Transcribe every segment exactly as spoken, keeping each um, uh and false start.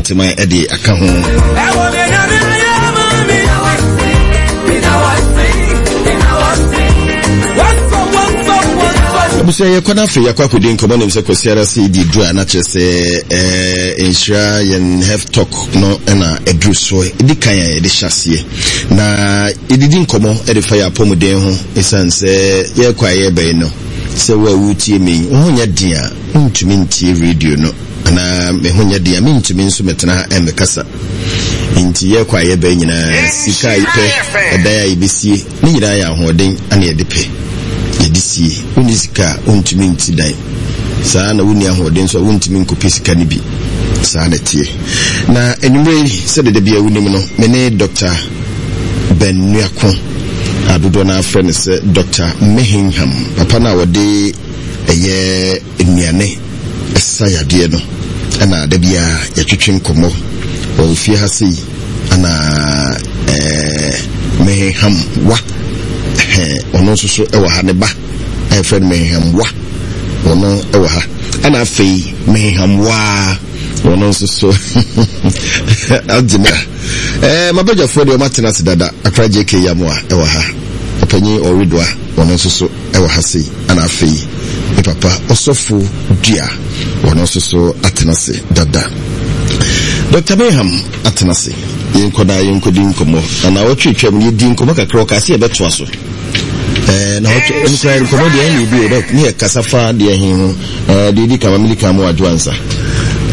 Asanteman ɛde aka ho. Abusua, yɛkɔ no afei yɛakɔ akɔdi nkɔmmɔ. Nim sɛ Kwasiara sɛ yɛdi duru a, na kyerɛ sɛ eh, nhyira yɛn health talk no ɛna ɛduru so. Ɛdi kan a yɛde hyɛ aseɛ na yɛdidi nkɔmmɔ ɛde fa yɛ apɔmuden ho, ɛsiane sɛ yɛrekɔ a yɛrebɛn no sɛ wo a wotie me yi, wo ho nyɛ den a wontumi ntie radio no, anaa me ho nyɛ den a mentumi nso mɛtena ha ɛmmɛkasa. Nti yɛrekɔ a yɛbɛn nyinaa, sika a yɛpɛ, ɛdan a yɛbɛsie ne nyinaa yɛ ahoɔden ana yɛde pɛ yɛde sie. Wonni sika a wontumi nti dan saa, na wonni ahoɔden nso a wontumi nkɔpɛ sika no bi. Saa na ɛteɛ. Na anwummerɛ yi, sɛdeɛ da bia wonim no, me ne Doctor Ben Nuako a dodoɔ no afrɛ no sɛ Doctor Mehinham, papa no a wɔde ɛyɛ nnuane ɛsa yadeɛ no, ɛna da biara yɛtwetwe nkɔmmɔ wɔ fie ha sei. Ana ɛɛ Mehinham wa, ɔno nso so ɛwɔ ha, ne ba a yɛfrɛ no Mehinham wa, ɔno ɛwɔ ha, ɛna afei Mehinham waa, ɔno nso so agyina. ɛɛ mabadwafoɔ deɛ ɔmatena ase dada. Akra J K Yamoa ɛwɔ ha, ɔpanyin Ɔredoa, ɔno nso so ɛwɔ ha sei, ɛna afei ne papa Ɔsɔfo Dua, ɔno nso so atena ase dada. Doctor Mayham atena ase. Yɛnkɔ na yɛnkɔdi nkɔmmɔ. Na na wɔtwe twam no, yɛdi nkɔmmɔ kakra, ɔkaa sɛ yɛbɛtoa so. ɛɛ na wɔtwe nkura nkɔmmɔ deɛ ɛna ebi o dɛ ne yɛ kasa fa deɛ he ho. ɛɛ deɛ edi kama mili kan mu adwo ansa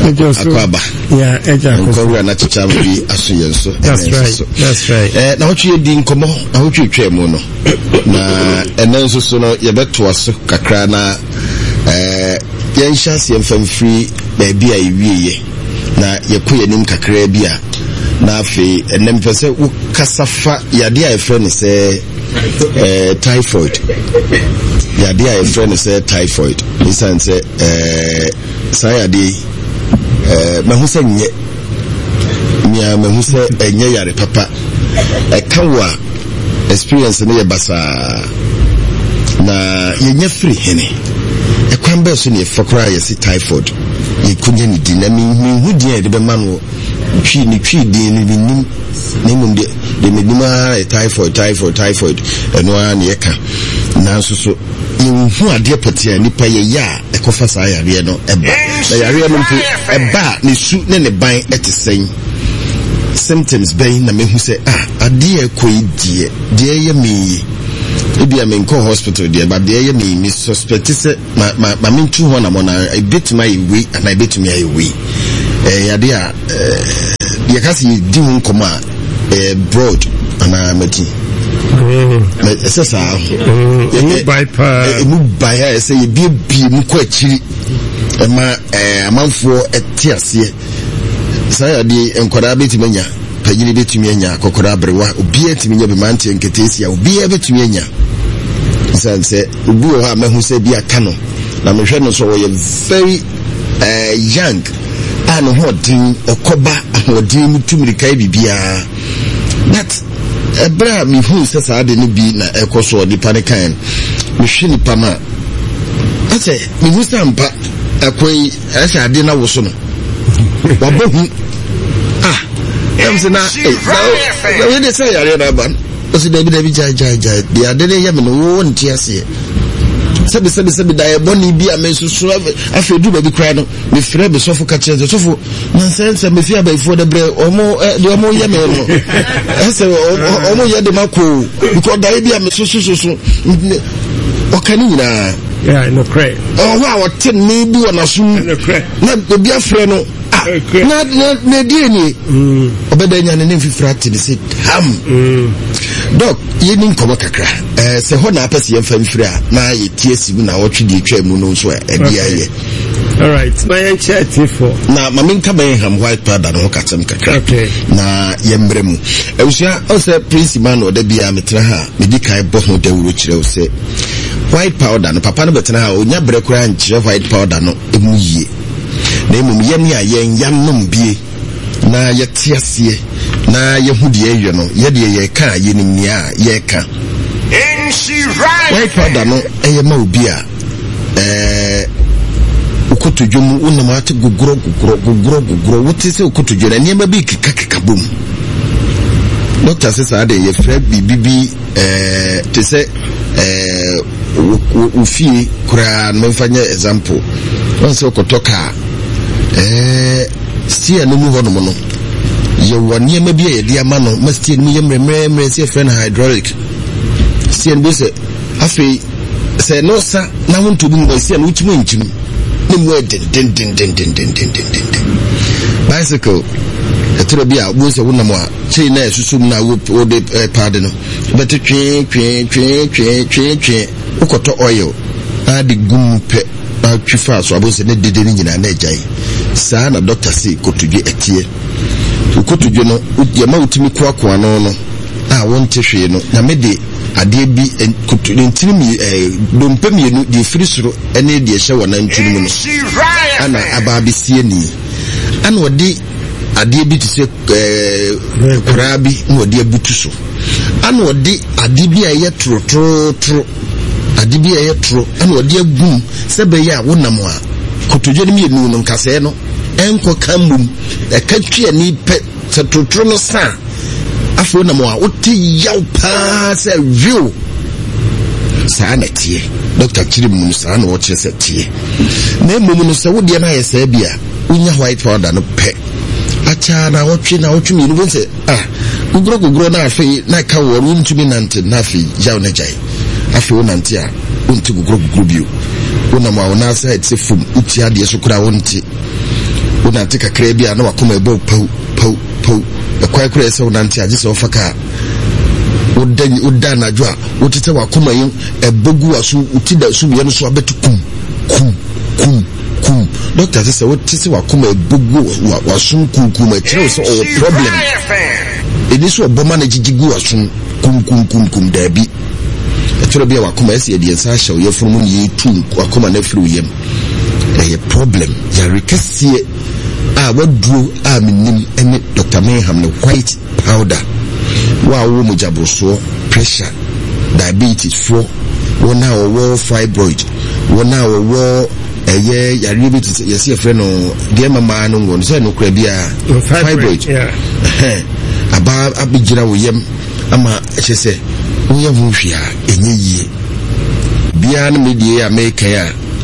akɔ aba nkɔwura na kyekyɛ ama bi aso yɛn so. That's right, that's right. ɛɛ na wɔtwe yɛdi nkɔmmɔ na wɔtwe twam mu no, na ɛnɛ nso so no yɛbɛtoa so kakra na ɛɛ yɛnhyɛ aseɛ mfa mfiri baabi a yɛwieɛ na yɛkɔ yɛn anim kakraa bi a. Na afei ɛnɛ mepɛ sɛ wokasa fa yadeɛ a yɛfrɛ no sɛ ɛɛ typhoid, yadeɛ a yɛfrɛ no sɛ typhoid, ɛsiane sɛ ɛɛ saa yadeɛ yi, ɛɛ mahu sɛ nyɛ mia, mahu sɛ ɛnyɛ yare papa. Ɛka wo a, experience no yɛ basaa. Na yɛnya firi hene? Ɛkwan bɛɛ so ne yɛfa koraa yɛse typhoid yɛkɔnya ne din? Na menhu din a yɛde bɛma no. Twi ne Twi din no mennim, na mmom deɛ deɛ menim ara yɛ typhoid, typhoid, typhoid. Ɛno ara ne yɛka, nanso so yɛnhu adeɛ pɔtee a nipa yɛyɛ a ɛkɔfa saa yareɛ no ɛba. Na yareɛ no mpo ɛba a, ne su ne ne ban ɛte sɛn? Symptoms bɛn na mehu sɛ ah, adeɛ ɛkɔ yi deɛ deɛ ɛyɛ me yi, ebi a menkɔ hospital deɛ ba deɛ ɛyɛ me yi, me suspect sɛ ma ma ma mentu ho anamɔ na ebetumi ayɛ wei anaa ebetumi ayɛ wei. Ɛyɛ adeɛ a ɛɛ yɛka sɛ yɛdi ho nkɔmɔ a ɛyɛ broad anaa mati ɛsɛ saa. Emu bae paa. Emu bae a ɛsɛ yɛbiebie mu kɔ akyiri ɛma ɛɛ amanfoɔ ɛte aseɛ. Saa yadeɛ, nkwadaa bɛtumi anya, panyini bɛtumi anya, akɔkɔrɔ, aberewa, obiara tumi nya bi, mmeranteɛ nketeesia, obiara bɛtumi anya. Ɛsiane sɛ obi wɔ hɔ a mahu sɛ bi aka no na mehwɛ no so, ɔyɛ very uh, young a ne ho ɔden, ɔkɔba ahoɔden mu, tu mirika yɛ biribiara, but ɛberɛ a mehu sɛ saa de no bi na ɛkɔ so nipa no kan, mehwɛ nipa no a, asɛ mehu sɛ ampa ɛkɔ yi ɛsɛ adeɛ no awo so no wabɔ hu. Ah, ɛm sɛ na na wei de sɛ yareɛ no aba no, ɔsɛ dabi dabi, gyae gyae gyae, deɛ ade no yɛ me no wo nte aseɛ. Sɛbi sɛbi sɛbi, da ɛbɔne bi a me nso so. Afei duru baabi koraa no, mefrɛ me sɔfo ka kyerɛ sɛ, sɔfo, nansɛ nsɛ mefi abayifoɔ de brɛ ɔmo, deɛ ɔmo yɛ me no, ɛsɛ ɔmo yɛ de ma koo, because daeɛ bi a me so so so so ɔka ne nyinaa ɔhɔ a ɔte nne bi wɔ n'asom na obi afrɛ no, ah, na na na ɛdeɛ nie ɔbɛda nya ne ne mfifiri ate ne sɛ ham. Doc, yɛni nkɔmmɔ kakra. ɛɛ sɛ hɔ na apɛ sɛ yɛmfa mfiri a na yɛtie asi mu na wɔtwe deɛ atwa mu no nso a ɛde ayɛ. Alright, ma yɛnkyɛ atiefoɔ. Na ma menka Bɛnham white powder no ho kasɛm kakra. Okay. Na yɛmmerɛ mu abusua, ɔsɛ Prince Emmanuel, da biara metena ha a, medi kan bɔ ho dawuro kyerɛ wo sɛ white powder no, papa no bɛtena ha a, ɔnya berɛ koraa nkyerɛ white powder no mu yie, na mmom yɛne a yɛn yanom bie na yɛte aseɛ na yɛhu deɛ ɛyɛ no, yɛdeɛ yɛka a yɛnim nea a yɛreka. White powder no ɛyɛ ma obi a ɛɛ Wokotodwe mu wonam ate gogorɔ gogorɔ gogorɔ gogorɔ, wote sɛ wokotodwe na nneɛma bi kekakeka bom. Dɔkta sɛ saa de yɛfrɛ biribi bi ɛɛ te sɛ ɛɛ wo fie koraa no, memfa nyɛ example. Wɔn sɛ wokɔtɔ kaa ɛɛ steer no mu hɔnom no, yɛwɔ nneɛma bi a yɛde ama no ma steer no mu yɛ mmerɛmmerɛmmerɛ sɛ yɛfrɛ no hydraulic. Steer no bi sɛ afei sɛ no sa na ho ntobi mu steer no wokyim nkyim ne mu yɛ dendendendendendendenden. Bicycle ɛtɔrɔ bi a wobɛhu sɛ wonam a kyei na ɛsusu mu na wode paade no wobɛte twee twee twee twee twee twee, wokɔtɔ oil na de gu mu pɛ na twi faa so abɛhu sɛ ne dede no nyinaa na agyae. Saa na dɔkta se kotodwe ɛteɛ. Wokotodwe no yɛma wotumi koakoa no no a wonte hwee no, Nyame de adeɛ bi koto ne ntini mmienu ɛɛ dompe mmienu deɛ efiri soro ne deɛ ɛhyɛ wɔn nantwi no mu no ana aba abɛsi ani, ana ɔde adeɛ bi te sɛ ɛɛ koraa bi na ɔde abutu so, ana ɔde adeɛ bi a ɛyɛ torotorotoro adeɛ bi a ɛyɛ toro ana ɔde agum sɛ bɛyɛ a wonam a kotodwe no mmienu no nkasɛɛ no ɛnkɔ ka mmom ɛka twi ani pɛ sɛ torotoro no sa afei wonam a wote yaw paa sɛ wiw. Saa na teɛ dɔkta kyerɛ mu no, saa na ɔkyerɛ sɛ teɛ. Na mmom no sɛ wodeɛ no ayɛ saa bi a, wonya white powder no pɛ akyaa na wɔtwe na wɔtwe mmienu bɛ sɛ ah gogorɔ gogorɔ na afei na ɛka wɔ wontumi nante, na afei yaw na gyae. Afei wonante a wonte gogorɔ gogorɔ bio, wonam a wo nan ase ayɛ te sɛ fam, wotia adeɛ so koraa wonte. Wonante kakraa bi a na wakoma ɛbɔ paw paw paw, ɛkwan koraa sɛ wonante a gye sɛ wofa kaa. Woda woda anadwo a wote sɛ wakoma yi ɛbɔ gu waso, woti da sumiiɛ no so abɛto kum kum kum kum. Dɔkta sɛ sɛ wote sɛ wakoma ɛbɔ gu wasom kum kum, ɛkyerɛ wo sɛ ɔwɔ problem. Ɛni sɛ ɔbɔ ma no gyigyi gu wasom kum kum kum kum, daabi. Ɛtwerɛ bi a wakoma ɛsɛ yɛde yɛn nsa ahyɛ wo yɛfunu mu ne yɛtu wakoma no afiri wo yam. Ɛyɛ problem yare kɛseɛ a waduro a menim ne Doctor Mayham ne white powder. Wo a wowɔ mogyaborosoɔ, pressure, diabetes foɔ, wɔn a wɔwɔ fibroid, wɔn a wɔwɔ ɛyɛ yareɛ bi te sɛ yɛsɛ yɛfrɛ no deɛ mmaa no ngo no sɛ no kora biara fibroid aba abɛgyina wo yam ama ɛkyɛ sɛ woyɛ ho hwee a ɛnyɛ yie biara. No medie a mekan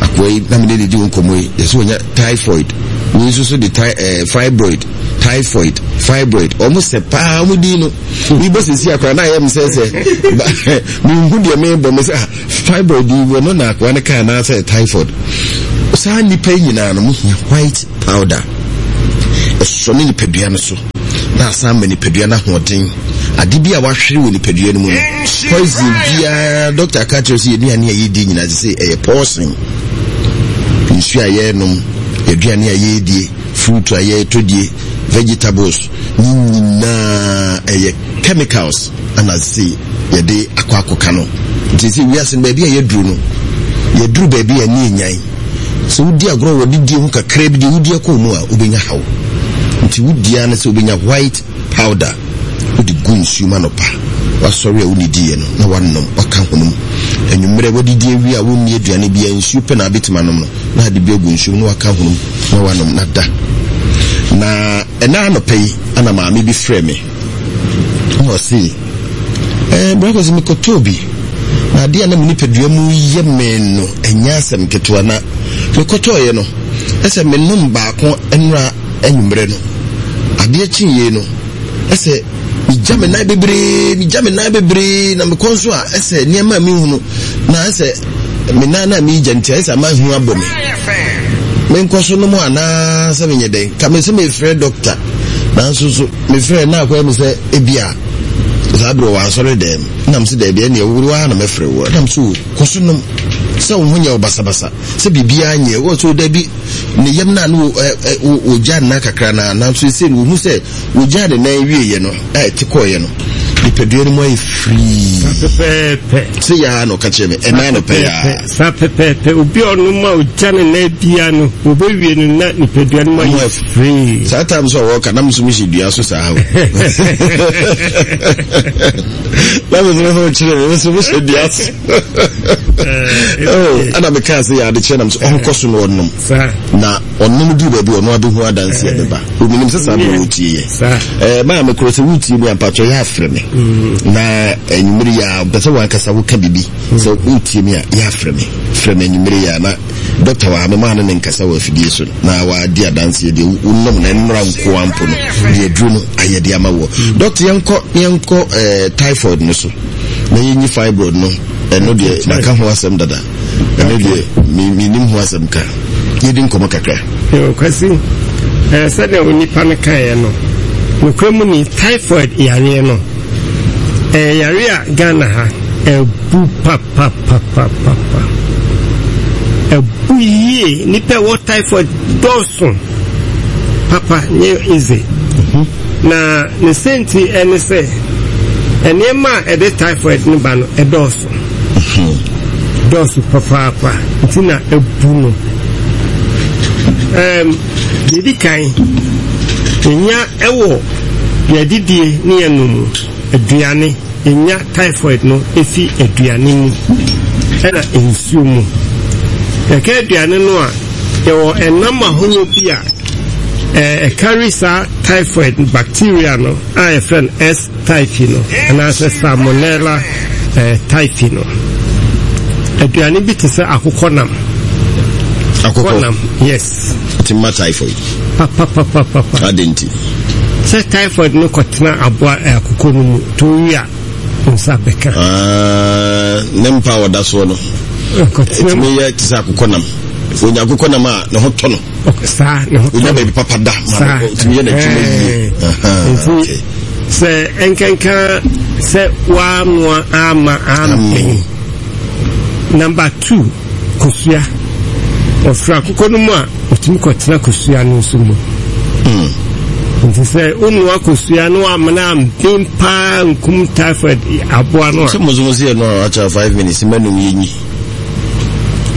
a akoa yi na mene ne di wo nkɔmmɔ yi, yɛsɛ wɔnya typhoid, wei nso so de ty, eh, fibroid, typhoid, fibroid, ɔmo sɛ paa ɔmo din no mebɔ sɛsi akora na ayɛ me sɛ sɛ menhu deɛ mebɔ me sɛ fibroid yi wɔ no na akoa no kaa anaasɛ typhoid. Saa nnipa yi nyinaa no mohia white powder, ɛsɔ ne nipadua no so na asan ma nipadua no ahoɔden. Ade bi a wahwere wɔ nipadua no mu no, poison biara, dɔkta ka kyerɛ sɛ yɛduane a yɛdi nyinaa te sɛ ɛyɛ poison. Nsuo a yɛnom, yɛduane a yɛdie, fruit a yɛtɔ die, vegetables ne nyinaa ɛyɛ chemicals ana se yɛde akɔ akɔka no. Nti sɛ wiase no baabi a yɛduru no, yɛduru baabi a ne ɛnyan sɛ wodi agorɔ wɔ didie ho kakra bi deɛ wodi akɔ mu a wobɛnya haw. Nti wodia no sɛ wobɛnya white powder, wode gu nsuo mu anɔpa wasɔre a wonnidiiɛ no na wanom, waka honum. Anwummerɛ wadidi awie a wonni aduane biara, nsuo pɛ na abɛtumi anom no, na ade bi agu nsuo mu na waka honum na wanom na da. Na ɛna anɔpa yi ana maame bi frɛ me na ɔse ɛɛ brako sɛ mekɔtɔɔ bi na adeɛ a na me nipadua mu yɛ me no ɛnyɛ asɛm ketewa, na mekɔtɔɔeɛ no ɛsɛ menom baako nnora anwummerɛ no, adeɛ kyeeɛ no ɛsɛ megya me nan bebree, megya me nan bebree na mekɔ nso a ɛsɛ nneɛma a mehu no na ɛsɛ me nan na megya nti ɛsɛ ama hu abɔ me. Menkɔ so nom anaa sɛ menyɛ dɛn? Ka me sɛ mefrɛ dɔkta, nanso so mefrɛ na akɔyɛ me sɛ ebia saa berɛ wɔ asɔre dɛm nam sɛ daabi ɛneɛ wo ara na mɛfrɛ wo nam so kɔ so nom sɛ wo ho nyɛ wo basabasa sɛ biribiara nyɛ wɔ so daabi. Ne yam no a na wɔgya nna kakra no a, nanso ɛsei no wɔhu sɛ wɔgyaa ne nan wieeɛ no a ɛte kɔeɛ no, nipadua no mu ayɛ firii. Saa pɛpɛɛpɛ. Sɛ yaa na ɔka kyerɛ me ɛna anɔpɛ yaa. Saa pɛpɛɛpɛ, obi a ɔnom a ɔgya ne nan bia no, wɔbɛwie no na nipadua no mu ayɛ firii. Saa time sɛ ɔwɔ ka na me nso mehyɛ dua so saa o. Na me nso kyerɛ me, me nso mehyɛ dua so. Ɛna mekaa sɛ yɛ adekyerɛ nam sɛ ɔnkɔ so na ɔnom na ɔnom duru baabi ɔno abɛhu adanseɛ bɛba. Omenim sɛ saa berɛ wɔtie yɛ maa mekorɔ sɛ wotie mi ampakyɛ yɛ afrɛ me na anwummere yɛ a mpɛ sɛ wankasa woka biribi sɛ wotie mi a yɛ afrɛ me frɛ me anwummere yɛ a na dɔkta wɔ ha memaa no ne nkasa wɔ afidie so na wadi adanseɛ deɛ wonom na nnora nkoa mpo no deɛ aduro no ayɛ de ama wɔ. Dɔkta, yɛnkɔ yɛnkɔ eh, typhoid no so na yɛnyi fibroid no. Ɛno deɛ maka ho asɛm dada, ɛno deɛ menim ho asɛm ka. Yɛdi nkɔmmɔ kakra. Kwasi, sɛdeɛ onipa no kaeɛ no, nokorɛ mu ni, typhoid yareɛ no ɛyɛ yare a Ghana ha ɛbu papapapapa, ɛbu yie. Nipa ɛwɔ typhoid dɔɔso papa, nyɛ easy. Na ne senti ɛne sɛ nneɛma a ɛde typhoid no ba no ɛdɔɔso dɔɔso papaapa, nti na ɛbu no. Ɛɛm deɛ edi kan, yɛnya ɛwɔ yɛdidie ne yɛnom mu, aduane. Yɛnya typhoid no efi aduane mu ɛna nsuo mu. Yɛka aduane no a, yɛwɔ ɛnam ahorow bi a ɛkari saa typhoid bacteria no a yɛfrɛ no S. typhi no anaasɛ Salmonella typhi no. Aduane bi te sɛ akokɔnam. Akokɔnam, yes. Ti ma typhoid. Papapapapa. Adi nti. Sɛ typhoid no kɔtena aboa akokɔ no mu to wi a, nsa bɛka. Ne mpa a ɔda soɔ no. Ɛtumi yɛ te sɛ akokɔnam. Onya akokɔnam a ne ho tɔ no. Saa, ne ho tɔ no. Onya baabi papa da. Saa, ɔtumi yɛ n'adwuma yie. Nti sɛ nkanka sɛ wanoa ama ampɛn. Number two, kosua. Ɔfiri akokɔ no mu a, ɔtumi kɔtena kosua no nso mu. Nti sɛ wonoa kosua no amena ampen paa nkum typhoid aboa no a. Sɛ mo nso mo sɛ yɛ no a akyɛ five minutes mɛnum yɛ nyi.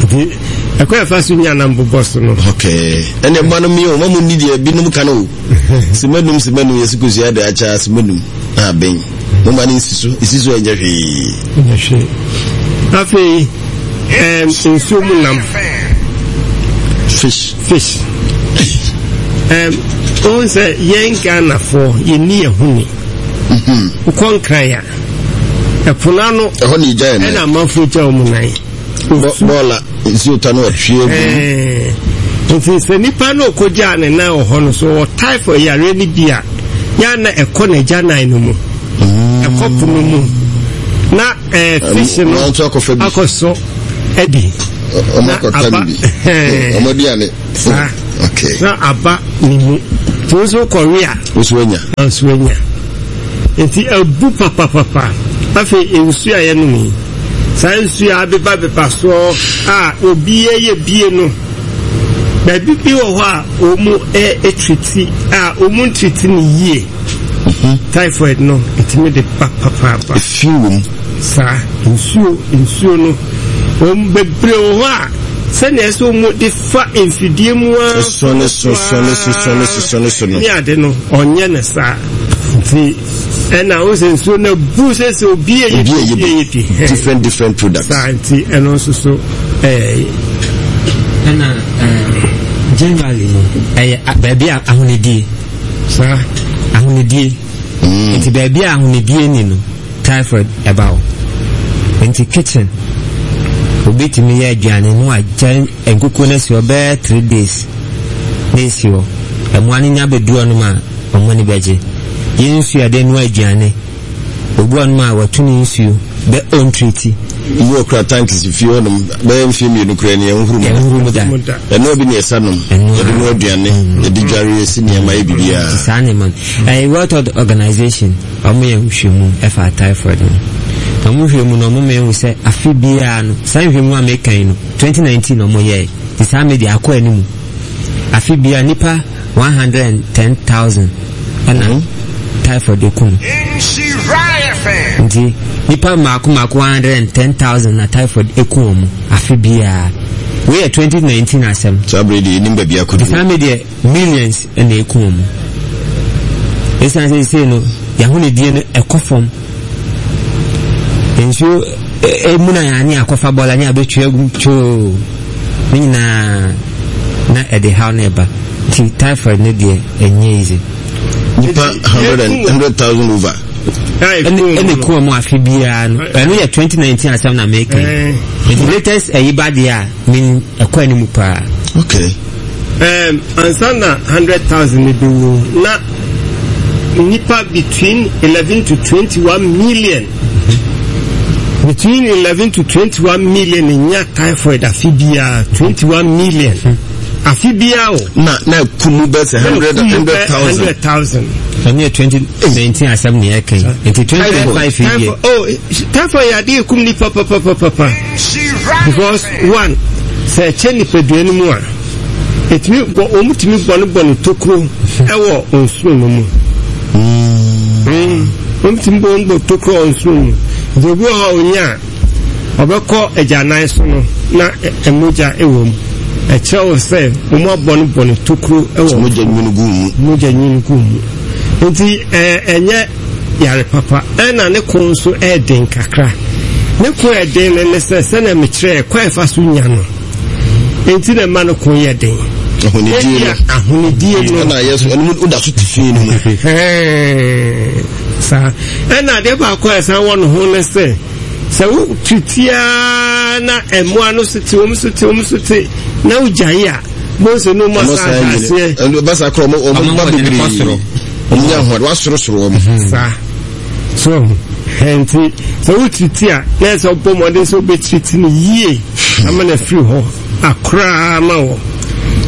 Nti ɛkɔ ɛfa so nya nam bobɔ so no. Okay. Ɛnna ɛma no mi o, ma mo ni deɛ binom ka no o. Sɛ mɛnum sɛ mɛnum yɛ sɛ kosua de akyɛ sɛ mɛnum na abɛn. Mo ma no nsi so, esi so ɛnyɛ hwee. Ɛnyɛ hwee. Afei ɛɛm nsuo mu nam. Fish. Fish. Ɛɛm ohun sɛ yɛn Ghanafoɔ yɛn ni yɛn ho ni. Wokɔ Nkran a, ɛpo n'ano. Ɛhɔ na egya yɛn nan. Ɛna amanfoɔ gya wɔn nan. Bɔɔla nsuo ta no ɔhwie gu. Nti sɛ nipa no ɔkɔgyaa ne nan wɔ hɔ no so wɔ typhoid yareɛ no bi a, yɛa na ɛkɔ n'agya nan no mu, ɛkɔ po no mu na ɛɛ fish no akɔ so adi. Na aba ɔmo aduane. Saa na aba ne mu nti wo nso kɔwe a, wo anya. Nso anya. Nti abu papapapa. Afei nsuo a yɛnom yi, saa nsuo a abeba beba soɔ a obi yɛ bie no, baabi bi wɔ hɔ a wɔn ɛtriti a wɔn ntriti no yie, typhoid no ɛtumi de ba papaapa. Efi wɔ mu. Saa nsuo nsuo no, wɔn bebree wɔ hɔ a sɛnea ɛsɛ wɔn de fa mfidie mu a sɔne so sɔne so sɔne so sɔne so no. Ne ade no ɔnyɛ ne saa, nti ɛna o sɛ nsuo no bu sɛ sɛ obi yɛ bi obi yɛ bi different different products. Saa nti ɛno nso so ɛɛ. Ɛna ɛɛ generally no ɛyɛ baabi a ahonidie. Saa. Ahonidie. Nti baabi a ahonidie ni no, typhoid ɛba hɔ. Nti kitchen, obi tumi yɛ aduane no agya nkukuo no asi hɔ bɛyɛ three days na esi hɔ. Ɛmoa no nya bɛdu hɔnom a, ɔmo ani bɛgye. Yɛn nsuo a yɛde noa aduane, obi wɔ hɔnom a watu ne nsuo bɛ ɔntriti. Bi wɔ kura tank si fie hɔnom bɛyɛ mfeɛ mmienu kura ni ɛnhuru mu. Ɛnhuru mu da. Ɛnoa bi na ɛsa nom. Yɛde noa aduane, yɛde dware, yɛsi nneɛma, yɛ biribiara. Saa nneɛma no. Ɛyɛ World Health Organization, ɔmo yɛ nhwehwɛmu ɛfa typhoid ho. Na ɔmo nhwehwɛmu no, ɔmo ma ehu sɛ afe biara no, saa nhwehwɛmu a meka yi no, twenty nineteen na ɔmo yɛɛ. Nti saa me deɛ akɔ anim. Afe biara nipa one hundred and ten thousand ɛna typhoid eku no. Nti nipa mmaako mmaako one hundred and ten thousand na typhoid eku wɔn afe biara. Wei yɛ twenty nineteen asɛm. Saa bere deɛ enim baabi akɔduru. Saa me deɛ millions ɛna eku wɔn. Esan sɛ sɛ no yahonidie no ɛkɔ fam. Nsuo Emu na yɛn ani akɔfa bɔɔla ne abɛtwa agu twoo ne nyinaa na ɛde haw na ɛba. Nti typhoid ne deɛ ɛnyɛ easy. Nipa hundred and hundred thousand over. Ɛna eku wɔn afe biara no, ɛno yɛ twenty nineteen asɛm na meka yi. Nti latest ɛyi ba deɛ a min ɛkɔ anim paa. Okay. Um, ansa na hundred thousand ne bɛwu na nipa between eleven to twenty one million, between eleven to twenty one million nya typhoid afe biara, twenty one million afe biara o. Na na kumu bɛ sɛ hundred hundred thousand. Hundred thousand. Ɛno yɛ twenty nineteen asɛm na yɛka yi. Nti twenty five yi deɛ. Oh, typhoid yɛ adeɛ ekum nipa papapapa because one, sɛ ɛkyɛ nipadua no mu a, ɛtumi bɔ, wɔn tumi bɔ no bɔ no tokuro ɛwɔ nsuo no mu. Wɔn tumi bɔ wɔn bɔ tokuro wɔ nsuo no mu. Nti obi wɔ hɔ a onya a, ɔbɛkɔ agyanan so no na mogya ɛwɔ mu. Ɛkyerɛ wo sɛ wɔn abɔ no bɔ no tokuro ɛwɔ mogya nwunu gu mu. Mogya nwunu gu mu. Nti ɛɛ ɛnyɛ yare papa. Ɛna ne ko nso ɛɛden kakra. Ne ko ɛɛden no ne sɛ sɛnea mekyerɛ kwan ɛfa so nya no. Nti na ɛma no ko yɛ den. Ahonidie no. Ahonidie no. Ɛna yɛ so ɛno mu da so te fie no mu. Saa. Ɛna adeɛ baako a ɛsan wɔ ne ho ne sɛ sɛ wo titiaa na mmoa no so te wɔn so te wɔn so te na wogyae a bonso no mu asan aseɛ. Ɛno basa korɔ ɔmo ɔmo ba bebree. Ɔmo nya ahoɔden wasorosoro wɔn. Saa. So nti sɛ wotiriti a na ɛsɛ ɔbɔ mmɔden sɛ wobɛtiriti no yie ama no afiri hɔ akoraa ma wɔ.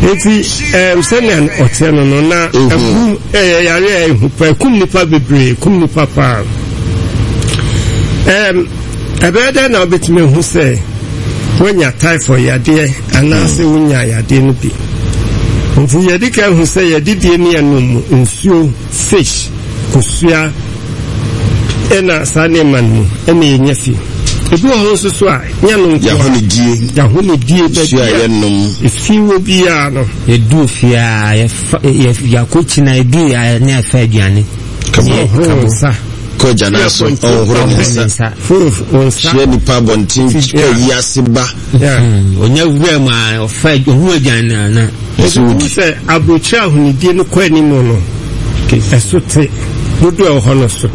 Nti ɛm sɛnea ɔteɛ no no na ɛbu ɛyɛ yare a ɛhu pa, ɛkum nipa bebree, ɛkum nipa paa. Ɛm ɛbɛyɛ dɛ na wobɛtumi ahu sɛ woanya typhoid yadeɛ anaasɛ wonya yadeɛ no bi. Nti yɛde ka hu sɛ yɛdidie ne yɛnom nsuo, fish, kosua, ɛna saa nneɛma no mu ɛna yɛnya fi. Ebi wɔ hɔ nso so a nyɛ no nko a Yɛahonidie. Yɛahonidie Nsuo a baabi a yɛnom. efi wɔ biara no. Yɛduu fie a yɛfa yɛ yɛakɔ kyina yɛduu yɛ ne yɛfa aduane. Kabo. Ɔhoro nsa. Kɔ agya so ɔnhoro ne nsa. Nsa. Foro nsa. Hyia nipa abɔnten kɔ yi ase ba. Yeah. Onya wura mu a ɔfa ɔhu aduane na na. Ɛsɛ Ebi wodi. sɛ aburokyire ahonidie no kɔ anim no, ɛso te dodoɔ a ɛwɔ hɔ no so.